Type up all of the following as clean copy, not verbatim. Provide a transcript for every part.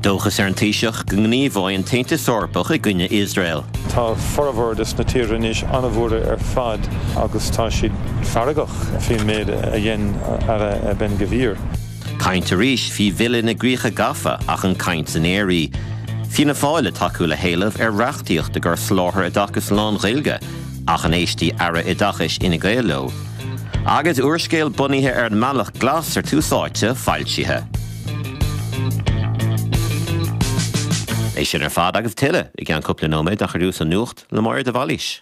Dóchas ar an Taoiseach go ngníomhóidh an tAontas Eorpach i gcoinne Iosrael. Tá formhór des na tíortha anois an-bhuartha ar fad agus tá siad feargach faoin méid a dhein Aire Ben Gvir. Caint arís faoi Bhille na gCríocha Gafa ach an caint san aer í. Fianna Fáil ag tacú le héileamh ar reachtaíocht i gcomhair soláthar oideachais lán-Ghaeilge ach an éistfidh Aire Oideachais Fhine Gael leo? Agus úrscéal bunaithe ar an mBealach Glas ar Tús Áite foilsithe. É sin ar fad agus tuilleadh i gceann cúpla nóiméad ach ar dtús an nuacht le Máire de Bhailís.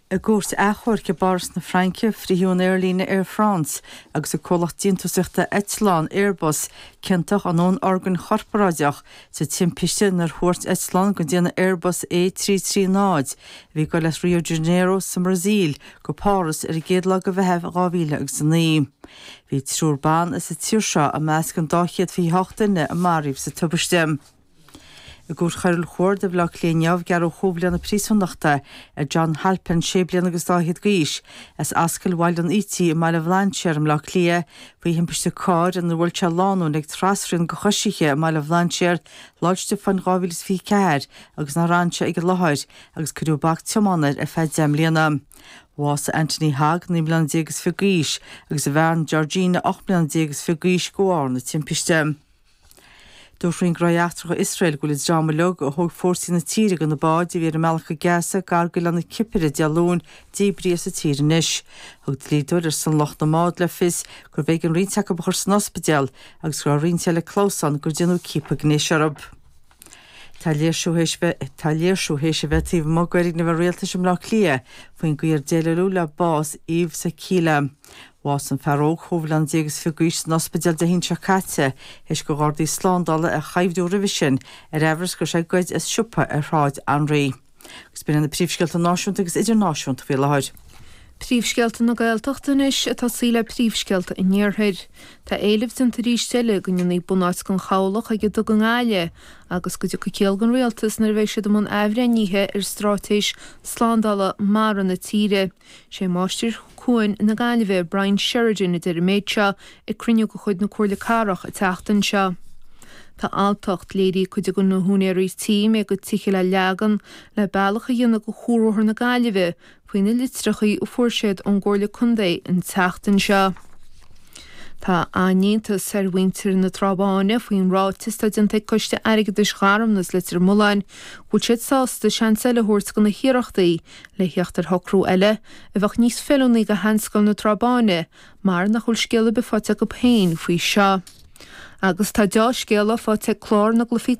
I gcúirt achomhairc i bPáras na Fraince, frítheadh an aerlíne Air France agus a comhlacht déantúsaíochta eitleán Airbus ciontach i ndúnorgain chorparáideach sa timpiste inar thuairt eitleán den déanamh Airbus A330 a bhí ag dul as Rio de Janeiro sa mBrasaíl go Páras ar an gcéad lá de Mheitheamh 2009. Bhí triúr ban as an tír seo i measc an 228 duine a maraíodh sa tubaiste. I gCúirt Choiriúil Chuarda Bhaile Átha Cliath inniu, gearradh chúig bhliana príosúnachta ar John Halpin, sé bliana agus dá fhichead d'aois, as Ascaill Bhaile an Ítigh i mBaile Bhlainséir i mBleá Cliath faoi thimpiste cairr inar bhuail sé lánúin ag trasrian do choisithe i mBaile Bhlainséir Lá 'le Stiofáin 2024 agus nár fhan sé ag an láthair agus cuireadh bac tiomána air ar feadh 10 mbliana. Bhásaigh Anthony Hogg, 19 mbliana is fiche d'aois, agus a bhean Georgina, 18 mbliana is fiche d'aois, de bharr na timpiste. Dúirt Roinn Gnóthaí Eachtracha Iosrael go bhfuil an dream uilig a thóg fórsaí na tíre de na báid a bhí ar a mbealach go Gaza gar d'oileán na Cipire Dé Luain díbrithe as an tír anois. Thug dlíodóir ar son lucht na mbád le fios gurbh éigean roinnt acu a chur san ospidéal agus go raibh roinnt eile ag clamhsán gur déanadh ciapadh gnéis orthu. Tá léirsiú théis bheith Tá léirsiú théis a bheith taobh amuigh d'fhoirgneamh an rialtais i mBleá Cliath faoin gcaoi ar déileáladh le bás Yves Sakila. Bhásaigh an fear óg chúig bhliana déag is fiche d'aois san ospidéal Dé hAoine seo caite théis do ghardaí slándála é a choimhdiú roimhe sin ar aimhreas go raibh sé ag goid as siopa ar Shráid Anraí. Agus b'in iad na príomhscéalta náisiúnta agus idirnáisiúnta faoi láthair. Príomhscéalta na Gaeltachta anois ag tosaí le príomhscéalta an Iarthair. Tá éileamh déanta arís eile go ndéanfaí bunáit den chabhlach ag an duga i nGaillimh agus go dtiocfaidh ciall don rialtas nuair a bheidh siad i mbun athbhreithnithe ar straitéis slándála mara na tíre. Sé Máistir Cuain na Gaillimhe, Brian Sheridan, a deir an méid seo ag cruinniú de chuid na Comhairle Cathrach an tseachtain seo. Tá alltacht léirithe ag cuid de na húinéirí tí a mbeidh a gcuid tithe le leagan le bealach a dhéanamh do Chuarbhóthar na Gaillimhe faoi na litreachaí a fuair siad ón gComhairle Contae an tseachtain seo. Tá an-iontas ar mhuintir na Trá Báine faoin ráiteas atá déanta ag Coiste Airgeadais Gharmna is Leitir Mealláin go bhfuil siad sásta seans eile a thabhairt do na hiarrachtaí le theacht ar shocrú eile a bheadh níos feiliúnaí do Sheanscoil na Trá Báine mar nach bhfuil scéal ar bith faighte acu féin faoi seo. Agus tá deá-scéala faighte ag clár na gcluichí.